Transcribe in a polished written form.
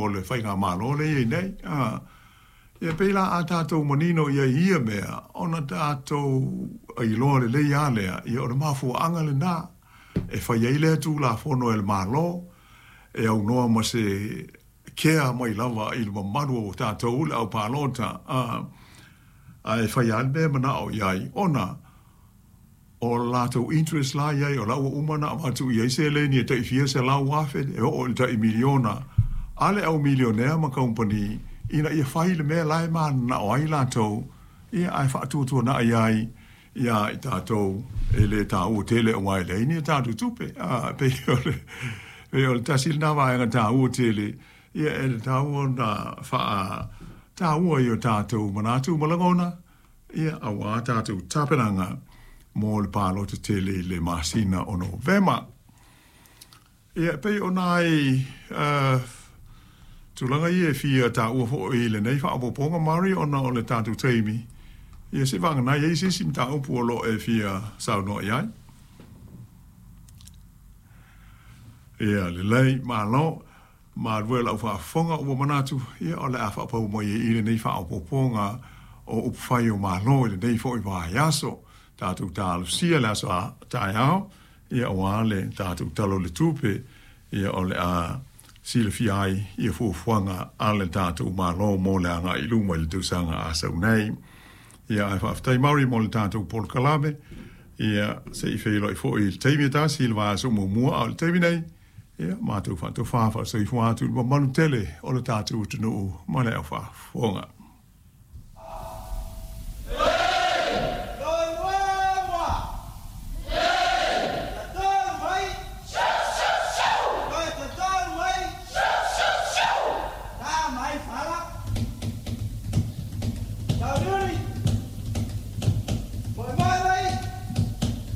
o le faigamalo lea e i ai nei. A, ia pei la a tatou manino i ai i ia mea, ona tatou iloa lelei lava lea, ia o le mafuaaga lena e fai ai lea Tulafono e le Malo e aunoa ma se kea mai lava i le mamalu o tatou le au palota, a, ae fai lava le mea e manao i ai, ona o le latou interest la i ai, o la ua uma ona avatu i ai seleni e tai fia 100,000 e oo i le tai miliona a le au milionea ma kamupani ina ia fai le mea la e mananao ai latou, ia ae faatuatuanai ai iā i tatou e le taua tele aua e leai ni a tatou tupe. A, e pei o le, pei o le tasi lena vaega taua tele, ia e tatau ona faataua i o tatou manatu ma lagona, Ia, auā tatou tapenaga mo le palota tele i le masina o Novema. Ia, e pei o nai uh, tulaga ia e fia taua foi i lenei faaopoopoga, Mari, ona o le tatou taimi. Ia, se vagana e i ai se isi mataupu o lo o e fia saunoa i ai. Ia, lelei, malo. Malu e lau faafofoga ua manatu, ia o le a faapau mai ai i lenei faaopoopoga o upufai o Malo i lenei foi vaiaso. Tatou talosia le aso a taeao, ia aua le tatou Tala o le Tupe, ia o le a silafia ai ia fuafuaga a le tatou Malo mo le agai i luma i le tausaga a sau nei. Ia ae faafetai Mari mo le tatou polokalame, ia se i feiloai foi i le taimi e tasi i le vaiaso muamua, a o le taimi nei, Ia, matou faatofa faasoifua atu i le mamalu tele o le tatou atunuu ma le au faafofoga.